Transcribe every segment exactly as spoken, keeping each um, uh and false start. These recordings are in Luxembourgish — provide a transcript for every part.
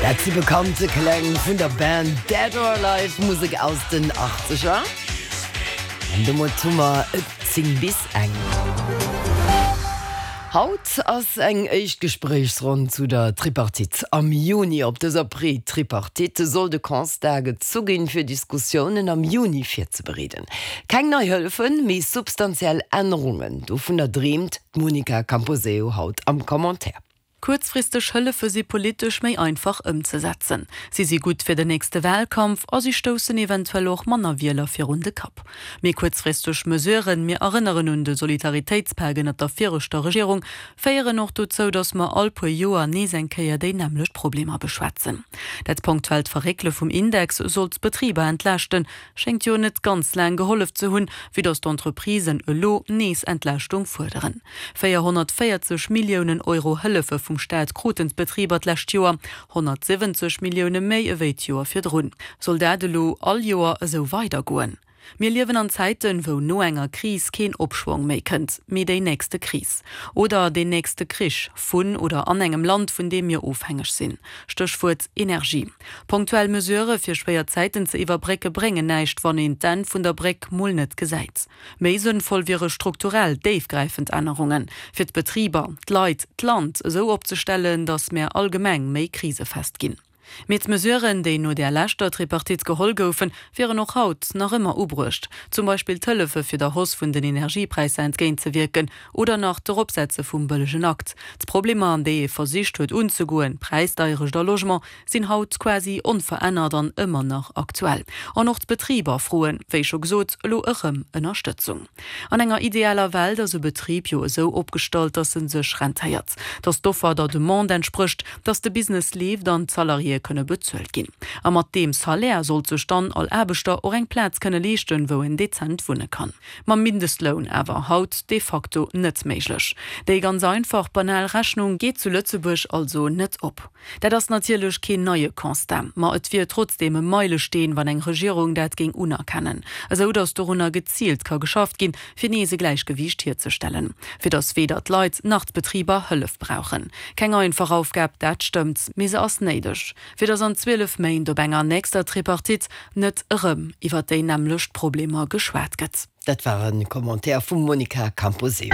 Dat si bekannte Kläng vun der Band Dead or Alive, Musek aus den Achtzeger. An domat hu mer et zéng bis eng. Haut ass eng éischt Gespréichsronn zu der Tripartite. Am Juni op dëser Pré-Tripartite soll de Constat gezu ginn, fir Diskussiounen am Juni virzebereeden. Keng nei Hëllefen, mee substantiell Ännerungen, dovunner dreemt d'Monica Camposeo haut am Commentaire. Kuerzfristeg Hëllefe si politesch méi einfach ëmzesetzen. Si si gutt fir den nächste Walkampf a si stoussen eventuell och manner Wieler virun de Kapp. Mee kuerzfristeg Mesuren, mir erënneren un de Solidaritéitspak ënnert der viregter Regierung, féieren och dozou, datt mer all puer Joer nees eng Kéier déi nämmlecht Problemer beschwätzen. Dat punktuellt Verréckele vum Index sollt d'Betriber entlaaschten, schéngt jo net ganz laang gehollef ze hunn, vue datt d'Entreprisen elo nees Entlaaschtung fuerderen. véierhonnertvéierzeg Milliounen Euro Hëllefe vum Staat kruten d'Betriber d'lescht Joer, honnertsiwwenzeg Millioune méi ewéi d'Joer virdrun. Soll dat elo all Joer esou weidergoen? Mir liewen an Zäiten, wou no enger Kris keen Opschwong méi kënnt, mee déi nächste Kris. Oder deen nächste Krich vun oder an engem Land, vun deem mir ofhängeg sinn. Stéchwuert Energie. Punktuell Mesurë fir schwéier Zäiten ze iwwerbrécke bréngen näischt, wann een d'Enn vun der Bréck mol net gesäit. Méi sënnvoll wiere strukturell, déifgräifend Ännerungen, fir d'Betriber, d'Leit, d'Land esou opzestellen, datt mär allgemeng méi krisefest ginn. Mee d'Mesuren, déi no där leschter Tripartite geholl goufen, wieren och haut nach ëmmer ubruecht, zum Beispill d'Hëllefe fir der Hausse vun den Energiepräisser entgéintzewierken oder nach d'Eropsetze vum bëllegen Akt. D'Problemer, déi ee versicht huet unzegoen, Präisdeierecht a Logement, sinn haut quasi onverännert an ëmmer nach aktuell. An och d'Betriber froen, wéi scho gesot, elo erëm Ënnerstëtzung. An enger idealer Welt ass e Betrib jo esou opgestallt, dass en sech rentéiert, dass d'Offer der Demande entsprécht, dass de Business leeft an d'Salariéë kënne bezuelt ginn. A mat deem Salaire sollt sech dann all Aarbechter och eng Plaz kënne leeschten, wou en dezent wunne kann. Mam Mindestloun awer haut de facto net méiglech. Déi ganz einfach, banal Rechnung geet zu Lëtzebuerg also net op. Dat ass natierlech keen neie Constat, ma et wier trotzdeem e Meilesteen, wann eng Regierung dat géing unerkennen, esou datt dorunner geziilt ka geschafft ginn, fir nees e Gläichgewiicht hierzestellen, fir datt weder d'Leit nach d'Betriber Hëllef brauchen. Keng einfach Aufgab, dat stëmmt, mee se ass néideg, fir datt an zwielef Méint op enger nächster Tripartite net erëm iwwer déi nämmlecht Problemer geschwat gëtt. Dat war e Commentaire vum Monica Camposeo.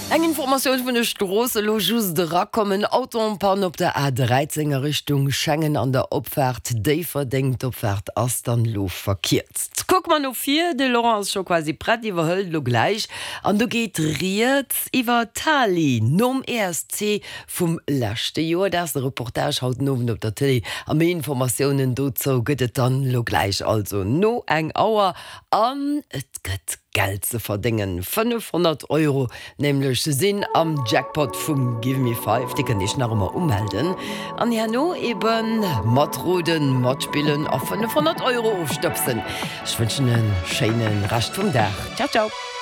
Eng Informatioun vun de Stroossen, elo just erakommen, Auto en panne op der A dräizéng a Richtung Schengen an der Opfaart Déifferdeng. D'Opfaart ass dann elo verkierzt. Kucke mer no vir, de Laurent ass scho quasi prett, iwwerhëlt elo gläich an do geet rieds iwwer Tali nom E S C vum leschte Joer. Dat ass de Reportage haut den Owend op der Tëlee a méi Informatiounen dozou gëtt et dann elo gläich, also no eng Auer. An et gëtt Geld ze verdéngen, fënnefhonnert Euro nämlech sinn am Jackpot vum Give Me Five. Dir kënnt iech nach ëmmer umelden an herno eben matroden, matspillen a fënnefhonnert Euro ofstëbsen. Ech wënschen e schéine Rescht vum Dag. Ciao, ciao.